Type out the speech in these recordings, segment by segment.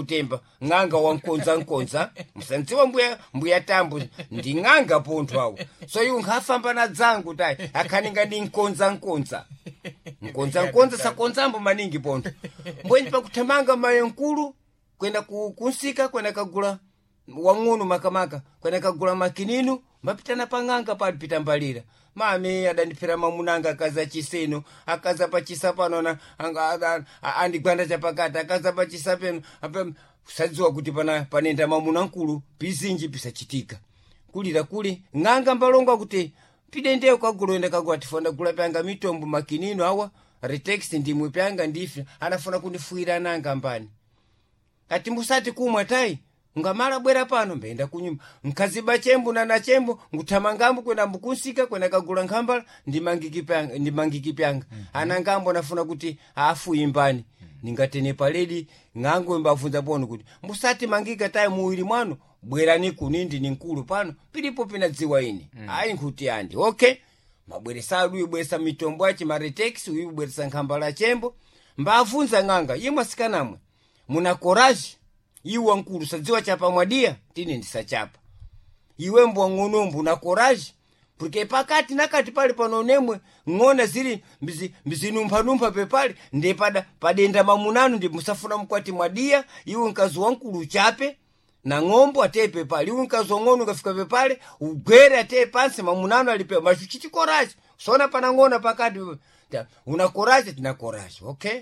Kutemba ng'anga wankonza nkonza musandziwa mbuya mbuya tambo ndi ng'anga pontho awo, so iwo nkhafamba na dzangu tayi akhaninga ndi nkonza nkonza nkonza nkonza sakonzambo maningi pontho mbweni pakuthamanga mayo nkulu kwenda kunsika kwenda kagula wang'ono makamaka kwenda kagula makinino mapitana pang'anga palipita mbalira mami adandiphera mamunanga akaza chiseno akaza pachisa pano andigwanda chapakati akaza pachisa peno sadziwa kuti pana panenda mamuna nkulu pizinji pisachitika kulira kuli ng'anga mbalongo kuti pidendeyo kagula enda kagula tifona gula pyanga mitombo makinino awa retex ndimwe pyanga ndife anafuna kundifuira nanga mbani ati musati kumwa tayi ngamala bwera pano mbenda kunyumba nkaziba chembo nana chembo nguthamangambo kwenda mbukunsika kwenda kagula nkhambala ndimangiki pyanga ndimangiki pyanga. Anangambo anafuna kuti afu imbani ningatene paledi ng'ango mbavunza pono kuti musati mangika tayi muwiri mwanu bwerani kunindi ni nkulu pano pilipo pinadziwa ine. Ayi nkuti andi okay mabweresa aduyi bweresa mitombo achi maretex uyu bweresa nkhambala chembo mbavunza ng'anga imwe asikanamwe muna courage iwe nkulu sadziwa chapa mwadia tine ndisachapa iwe mbwa ng'onombo una courage porque pakati nakati pali pano nemwe ng'ona zili mbizinumphanumpha pepali ndi pada padenda mamunanu ndi musafuna mkwati mwadia iwe mkazi wankulu uchape na ng'ombo ateye pepale iwe mkazi wang'ono ukafika pepale ugwere ateye pansi mamunanu alipe machuchiti courage sona pana ng'ona pakati una courage tina courage okay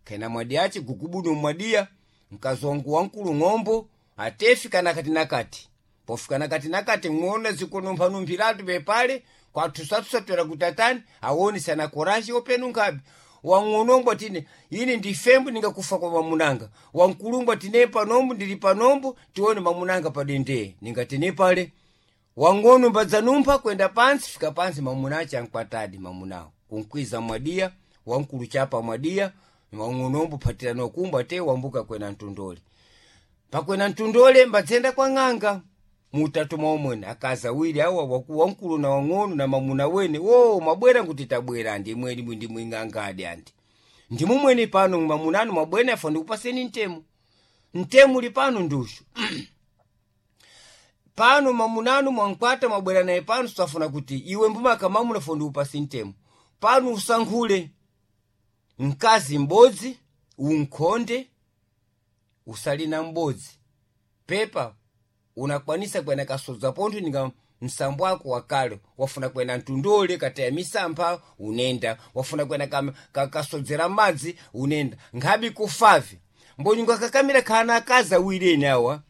kena mwadiachi gugubudu mwadia mkazi wangu wankulu ng'ombo atefika nakati nakati pofika nakati nakati ng'ona zikunumphanumphiratu pepale kwathusathusa kuti atani awoni sana koraji openu nkhabe wang'onombo tine ine ndifembo ningakufa kwa mamunanga wankulumbo tine panombo ndili panombo tione mamunanga padendee ningatine pale wang'ono mbadzanumpha kwenda pansi fika pansi mamunache ankwatadi mamunawo kunkwiza mwadia wankulu chapa mwadia wang'onombo phatira nokumba te wambuka kwena mtundole pakwena mtundole mbadzenda kwa ng'anga mutatu mwaomwene akazi awiri awa wankulu na wang'ono na mamuna wene wo mwabwera nkuti tabwera andi imweni ndimwe ng'anga adi andi ndimumweni pano mamunanu mwabwene afa ndikupaseni ntemu ntemu uli pano ndushu pano mamunanu mwankwata mwabwera naye pano safuna kuti iwe mbumaka mamuna fo ndikupasi ntemu pano usankhule mkazi m'bodzi unkhonde usali na m'bodzi pepa unakwanisa kwena kasodza pontho ninga msambo wako wakale wafuna kwena mtundole kataya misampha unenda wafuna kwena kasodzera madzi unenda nkhabi kufavi mbonyunga kakamira khana akazi awiri ene awa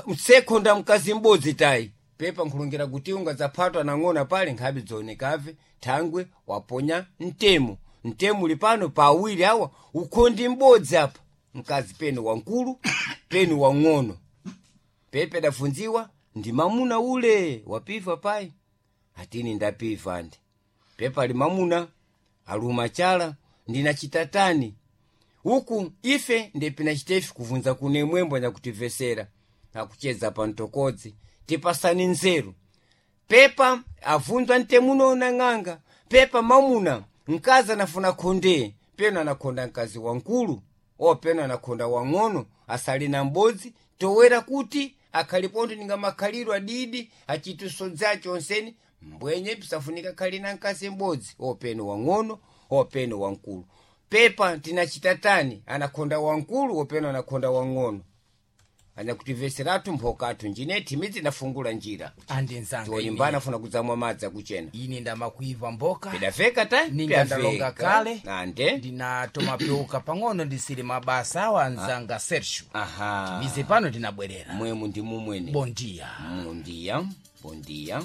msekhonda mkazi m'bodzi tayi pepa nkhulungira kuti ungadzaphatwa nang'ona pale nkhabi dzoonekave thangwe waponya mtemo mtemo uli pano pa awiri awa ukhondi m'bodzi apa mkazi penu wankulu penu wang'ono pepe dafunziwa ndi mamuna ule wapiva payi atini ndapiva andi pepa ali mamuna aluma chala ndina chitatani uku ife ndepinachitefi kuvunza kune mwembo nyakutivesera akucheza pa mtokodzi tipasani nzeru pepa avunzwa ntemuno na ng'anga pepa mamuna mkazi anafuna khonde peno anakhonda mkazi wankulu o peno anakhonda wang'ono asali na m'bodzi towera kuti akhalipontho ninga makhaliro adidi achitusodza chonseni mbwenye pisafunika khali na mkazi m'bodzi o peno wang'ono o peno wankulu pepa tinachitatani anakhonda wankulu openo anakhonda wang'ono anyakutimveseratu mphokathu njine thimidzi ndafungula njira andi nzanga tiwonimba anafuna kudzamwa madzi akuchena ine ndamakuiva mboka pidafeka ta Ninga ndalonga kale. ande ndinatoma pyuka pang'ono ndisili mabasa awa anzanga Sergio aha mize pano ndinabwerera mwemu ndi mumwene bondia mundiya bondia.